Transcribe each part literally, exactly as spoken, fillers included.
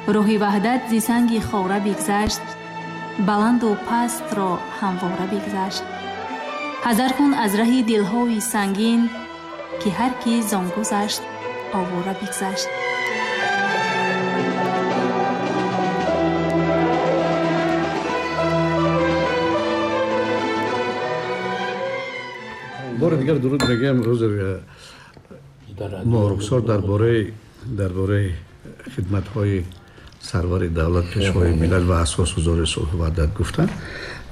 Роҳи ваҳдат зи санги хора бигзашт, баланду пастро ҳамвора бигзашт. Ҳазар кун аз раҳи дилҳои сангин, ки ҳар ки зон гузашт овора бигзашт. Бори дигар дуруд мегӯям. Рӯзи Моҳрухсор дар бораи дар бораи хидматҳои сарвари давлат, пешвои миллат ва асосгузори сулҳу ваҳдат гуфтанд.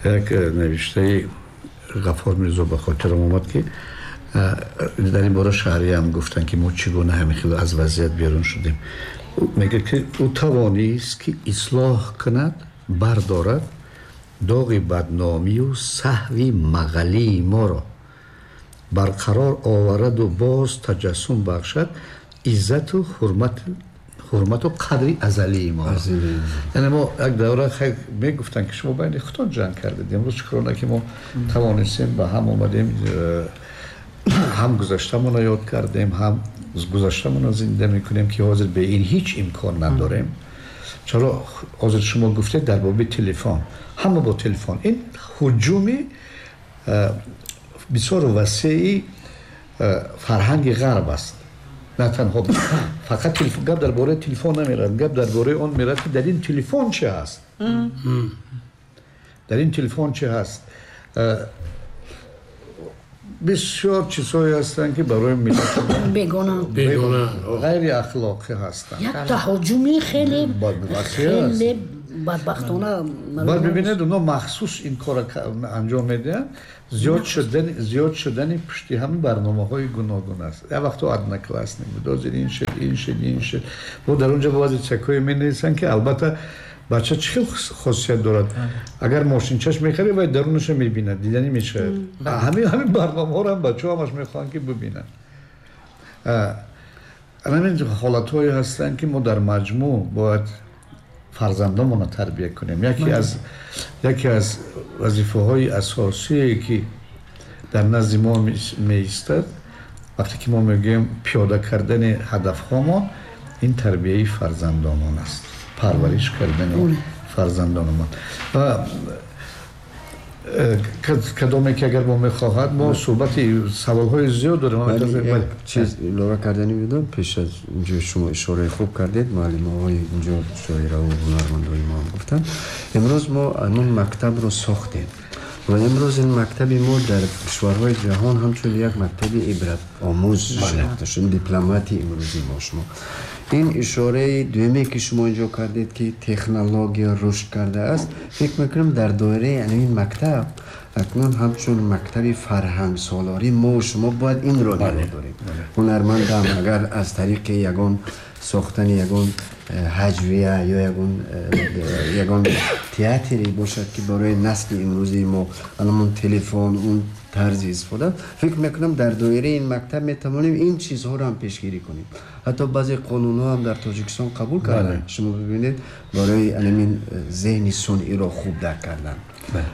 Як навиштаи Ғаффор Мирзо ба хотирам омад, ки дар ин бора шаҳрия ҳам гуфтанд, ки мо чӣ гуна ҳамин хел аз вазъият берун шудем. Мегӯяд, ки ӯ тавонист, ки ислоҳ кунад, бардорад доғи бадномию саҳви мағалии моро, барқарор овараду боз таҷассум бахшад иззату ҳурмату қадри азалии мо. Яъне мо як давра хайр мегуфтанд, ки шумо байни худтон ҷанг кардед. Имрӯз шукрона, ки мо тавонистем, ба ҳам омадем, ҳам гузаштамонро ёд кардем, ҳам гузаштамонро зинда мекунем, ки ҳозир бе ин ҳеҷ имкон надорем. Чаро ҳозир шумо гуфтед дар боби телефон, ҳама бо телефон. Ин ҳуҷуми бисёр васеи фарҳанги ғарб аст. На танҳо фақат телефон, гап дар бораи телефон намерад, гап дар бораи он мерад, ки дар ин телефон чӣ ҳаст, дар ин телефон чӣ ҳаст. Бисёр чизҳое ҳастанд, ки барои миллат бегона, бегона, ғайри ахлоқӣ ҳастанд. Як таҳоҷуми хеле хеле бадбахтона. Баъд бибинед, онҳо махсус ин корро анҷом медиҳанд. Зиёд шудани зиёд шудани пушти ҳамин барномаҳои гуногун аст. Як вақто Одноклассник буд, ҳозир ин шуд, ин шуд, ин шуд. Бо дар онҷо баъзе чакҳое менависанд, ки албатта бача чӣ хел хосият дорад. Агар мошинчаш мехарӣ, вай дарунаша мебинад, диданӣ мешавад. Ҳамин ҳамин барномаҳоро ҳам бачаҳо ҳамаш мехоҳанд, ки бибинанд. Ҳамин ҳолатҳое ҳастанд, ки мо дар маҷмӯъ бояд фарзандонамонро тарбия кунем. Яке аз яке аз вазифаҳои асосие, ки дар назди мо меистад, вақте ки мо мегӯем пиёда кардани ҳадафҳомон, ин тарбияи фарзандонамон аст, парвариш кардани фарзандонамон. Ва кадоме ки агар мо мехоҳад, мо суҳбати саволҳои зиёд дорем. Як чиз илова кардани будам, пеш аз инҷо шумо ишораи хуб кардед, муаллимаҳои инҷо, шоираву ҳунармандои мо ҳам гуфтанд. Имрӯз мо ҳамон мактабро сохтем ва имрӯз ин мактаби мо дар кишварҳои ҷаҳон ҳамчун як мактаби ибратомӯз шинохта шуд, дипломатии имрӯзи мо шумо. Ин ишораи дуюме, ки шумо инҷо кардед, ки технология рушд кардааст, фикр мекунам дар доираи ин мактаб акнун ҳамчун мактаби фарҳангсолорӣ мо шумо бояд инро нигоҳ дорем. Ҳунармандам агар аз тариқи ягон сохтани ягон ҳаҷвия ё ягон ягон театре бошад, ки барои насли имрӯзии мо ҳамон телефон, он тарзи истифода, фикр мекунам дар доираи ин мактаб метавонем ин чизҳоро ҳам пешгирӣ кунем. Ҳатто баъзе қонунҳо ҳам дар Тоҷикистон қабул карданд, шумо бибинед, барои ҳамин зеҳни сунъиро хуб дарк кардан.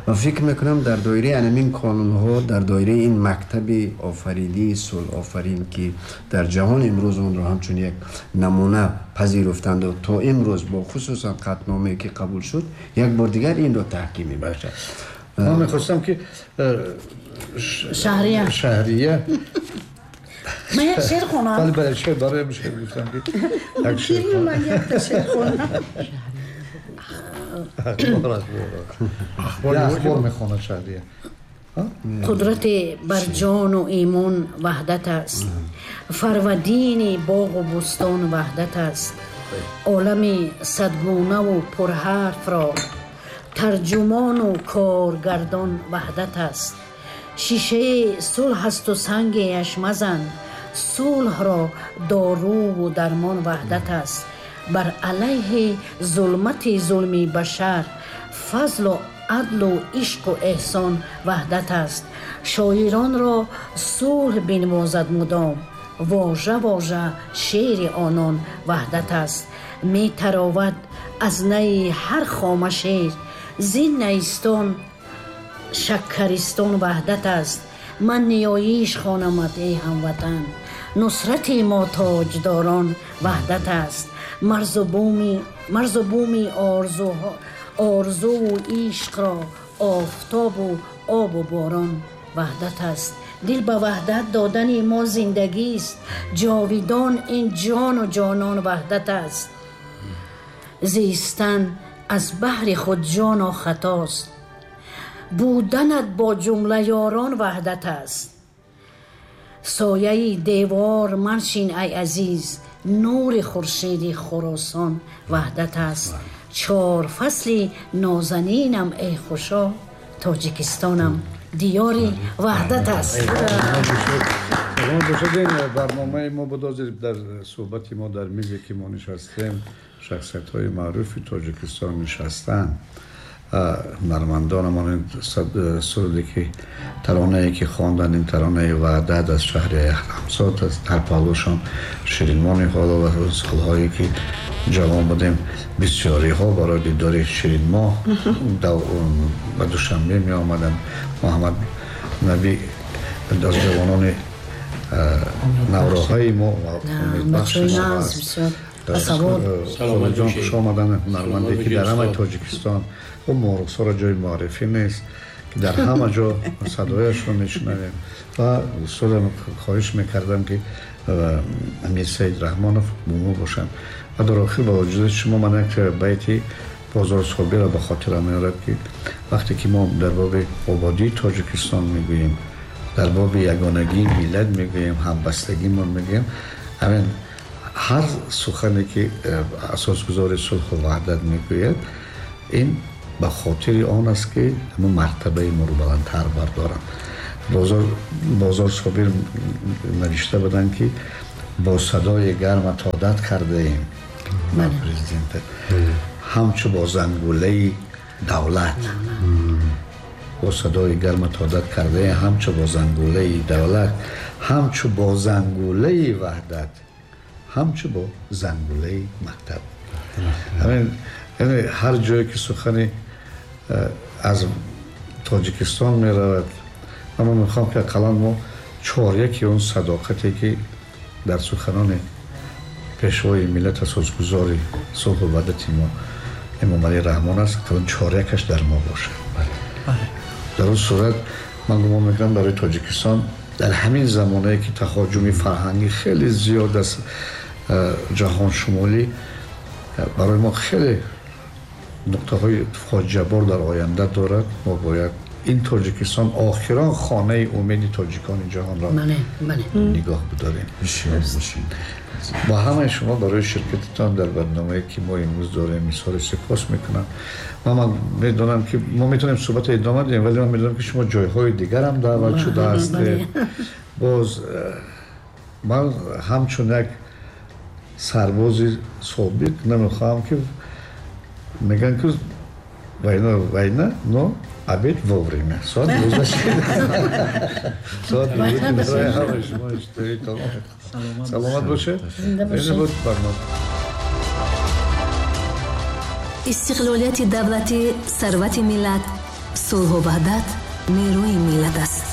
Ва фикр мекунам дар доираи ҳамин қонунҳо, дар доираи ин мактаби офаридии сулҳофарин, ки дар ҷаҳон имрӯз онро ҳамчун як намуна пазируфтанду то имрӯз бо хусусан қатъномае, ки қабул шуд, як бор дигар инро таҳким мебахшад. Ман мехостам, ки шаҳрия шаҳрия ман як шеър хонам. Бале, бале, шеър барои шеър гуфтам, ки як шеър ман як шеър хонам. Ахбор, ахбор, ахбор мехонад шаҳрия. Қудрат бар ҷону имон ваҳдат аст, фарвадини боғу бӯстон ваҳдат аст, олами садгунаву пурҳарфро тарҷумону коргардон ваҳдат аст. Шишаи сулҳ асту сангеаш мазан, сулҳро доруву дармон ваҳдат аст. Бар алайҳи зулмати зулми башар, фазлу адлу ишқу эҳсон ваҳдат аст. Шоиронро сулҳ бинвозад мудом, вожа вожа шеъри онон ваҳдат аст. Метаровад аз найи ҳар хома шеър, зин найистон шаккаристон ваҳдат аст. Ман ниёиш хонамат, эй ҳамватан, Нусрати мо тоҷдорон ваҳдат аст. Марзу буми марзу буми орзуҳо орзуву ишқро офтобу обу борон ваҳдат аст. Дил ба ваҳдат додани мо зиндагист. Ҷовидон ин ҷону ҷонон ваҳдат аст. Зистан аз баҳри худ ҷоно хатост. Буданат бо ҷумла ёрон ваҳдат аст. Сояи девор маншин ай азиз, нури хуршеди Хуросон ваҳдат аст. Чор фасли нозанинам эй хушо, Тоҷикистонам диёри ваҳдат аст. Саломат бошед. Ин барномаи мо буд. Ҳозир дар суҳбати мо дар мизе ки мо нишастем, шахсиятҳои маъруфи Тоҷикистон нишастанд. Ҳунармандонамон суруде ки таронае ки хонданд, ин таронаи ваҳдат аз шаҳри Ҳамсот аст. Дар паҳлӯшон Ширинмоҳ Ниҳолова. Солҳое ки ҷавон будем, бисёриҳо барои дидори Ширинмоҳ ба Душанбе меомаданд. Муҳаммад Набӣ аз ҷавонони навроҳаи мо ва умедбахши мо аст. Холаҷон, хуш омаданд. Ҳунарманде ки дар ҳамаи Тоҷикистон ӯ морусҳоро ҷои муаррифӣ нест, ки дар ҳама ҷо садояшро мешунавем. Ва устодам хоҳиш мекардам, ки Амир Саид Раҳмонов бо мо бошанд. Ва дар охир ба вуҷуди шумо ман як байти Бозор Собирро ба хотирам меорад, ки вақте ки мо дар боби ободии Тоҷикистон мегӯем, дар боби ягонагии миллат мегӯем, ҳамбастагимон мегӯем, ҳамин ҳар сухане ки асосгузори сулҳу ваҳдат мегӯяд, ин ба хотири он аст, ки ҳамон мартабаи моро баландтар бардоранд. Бозор Бозор Собир навишта буданд, ки бо садои гармат одат кардаем ба президент, ҳамчу бо зангулаи давлат. Бо садои гармат одат кардаем ҳамчу бо зангулаи давлат, ҳамчу бо зангулаи ваҳдат, ҳамчу бо зангулаи мактаб. Ҳамин, яъне ҳар ҷое ки сухани аз Тоҷикистон меравад, аммо мехоҳам, ки ақаллан мо чоряки он садоқате ки дар суханони пешвои миллат, асосгузори сулҳу ваҳдати мо Эмомалӣ Раҳмон аст, ақаллан чорякаш дар мо бошад. Дар он сурат ман гумон мекунам, барои Тоҷикистон дар ҳамин замонае ки таҳоҷуми фарҳангӣ хеле зиёд аст, ҷаҳоншумолӣ барои мо хеле нуқтаҳои фоҷиабор дар оянда дорад, мо бояд ин Тоҷикистон, охирон хонаи умеди тоҷикони ҷаҳонро нигоҳ бидорем. Ба ҳамаи шумо барои ширкатитон дар барномае ки мо имрӯз дорем изҳори сипос мекунам. Ва ман медонам, ки мо метавонем суҳбатро идома диҳем, вале ман медонам, ки шумо ҷойҳои дигарам даъват шуда ҳастед. Боз ман ҳамчун як сарбози собиқ намехоҳам, ки мегӯянд, ки война война, но обед вовремя. Соат дувоздаҳ, соат барои ҳамаи шумо иштиҳои тамом. Саломат бошед. Ин буд барнома. Истиқлолияти давлатӣ сарвати миллат, сулҳу ваҳдат нерӯи миллат аст.